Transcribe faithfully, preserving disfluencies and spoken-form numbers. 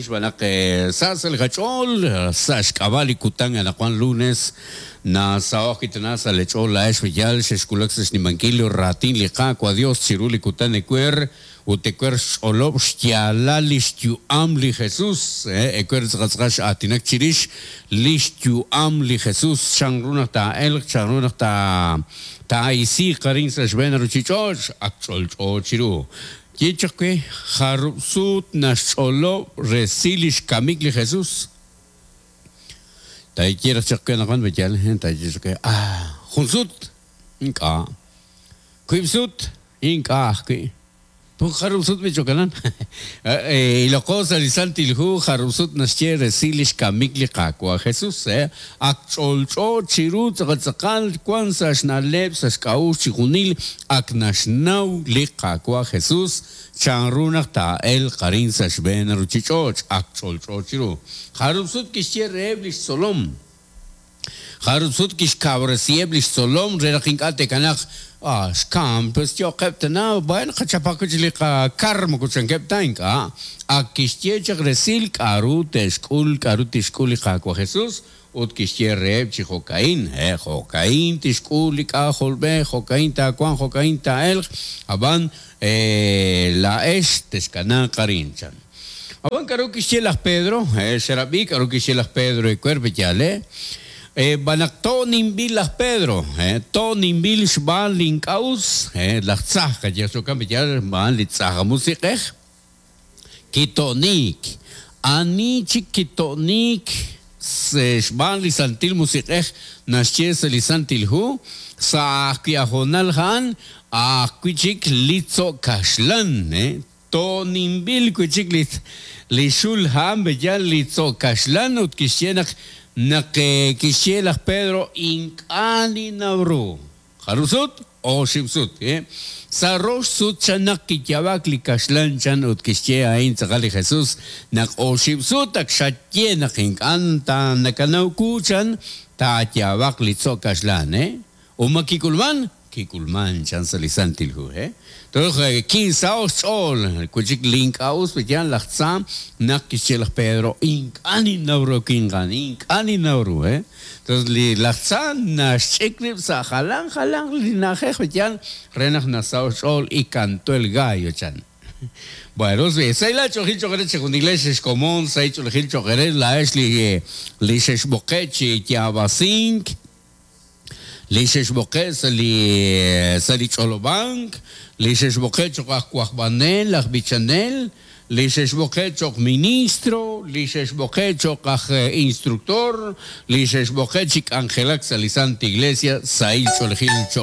Xb'anaq sa' sa' li qach'ool sa' xk'ab'a' li kutan anaqwan lunes nasaho'k kitana sa' li ch'ool laa'ex yal xexwulak sa' xnimankil raatin li Qaawa' Dios chiru li kutan ewer ut ewer xch'olob' xyaalal li xyu'am li Jesús ewer tz'aqal x'aatinak chirix li xyu'am li Jesús chanru naq taa'elq chanru naq taa'isiiq arin sa' xb'een ruuchich'och' ak ch'olch'o chiru ye chaq we jarub' sut naxch'olob' resil li xkamik li Jesús taye raj chaq we anaqwan b'eyal taye chaq we ah jun sut ink'a' wiib' sut ink'a' ajwi' pun jarub' sut bichokanan iloqo sa' li Santil Hu jarub' sut naxye resil li xkamik li Qaawa' Jesús ak ch'olch'o chiru tz'aqal tz'aqal wan sa' xna'leb' sa' xk'a'uxl chijunil ak naxnaw li Qaawa' Jesús chanru naq taa'elq arin sa' xb'een ruuchich'och' ak ch'olch'o chiru jarub' sut kixye reheb' li xtzolom jarub' sut kixkawresiheb' li xtzolom re naq ink'a' te'kanaq ah xkam pues yo'qeb' tana bueno qachapaq wi' chik li qakar moko chankeb' ta ink'a' ak kixye chaq resil k'a'ru te'xk'ul k'a'ru tixk'ul li Qaawa' Jesús ut kixye reheb' chi jo'ka'in eh jo'ka'in tixk'ul li k'ajolb'ej jo'ka'in taawanq jo'ka'in taa'elq ab'an laa'ex texkanaaq arin chan. Ab'an k'a'ru kixye laj Pedro eh xerab'i k'a'ru kixye laj Pedro ewer b'eyal eh b'anaq to'ninb'il laj Pedro eh to'ninb'il xb'aan li ink'a'us eh laj tzaj qayej xokan b'eyal xb'aan li tzaj musiq'ej kito'nik ani chik kito'nik xb'aan li Santil Musiq'ej naxye sa' li Santil Hu sa' ajwi' ajonal ja'an ajwi' chik li tzo' kaxlan eh to'ninb'il wi' chik li li xul ja'an b'eyal li tzo' kaxlan ut kixye naq naq kixye laj Pedro ink'a' ninnaw ru jarub' sut oxib' sut eh sa' rox sut chan naq kiyaab'ak li kaxlan chan ut kixye a'in tz'aqal li Jesús naq oxib' sut ak xaye naq ink'a' ta nakanaw ku chan taayaab'aq li tzo' kaxlan eh uma kik'ulman kik'ulman chan sa' li Santil Hu eh Entonces kinsaho'k xch'ool wi' chik li ink'a'us b'eyal laj tza naq kixye laj Pedro ink'a' ninnaw ru kinqan ink'a' ninnaw ru eh Entonces li laj tza naxch'ik rib' sa' jalan jalan li na'ajej b'eyal re naq nasaho'k xch'ool y cantó el gallo chan. Bueno, sayla ch'oqil ch'oqere chijunile xexkomon say ch'oqil ch'oqere laa'ex li li xexb'oqe' chi yaab'asink li xexb'oqe' sa' li sa' li ch'olob'ank li xexb'oqe' cho'q aj wajb'anel aj b'ichanel li xexb'oqe' cho'q ministro li xexb'oqe' cho'q aj instructor li xexb'oqe' chi k'anjelak sa' li Santa Iglesia sahil ch'oolejil cho'q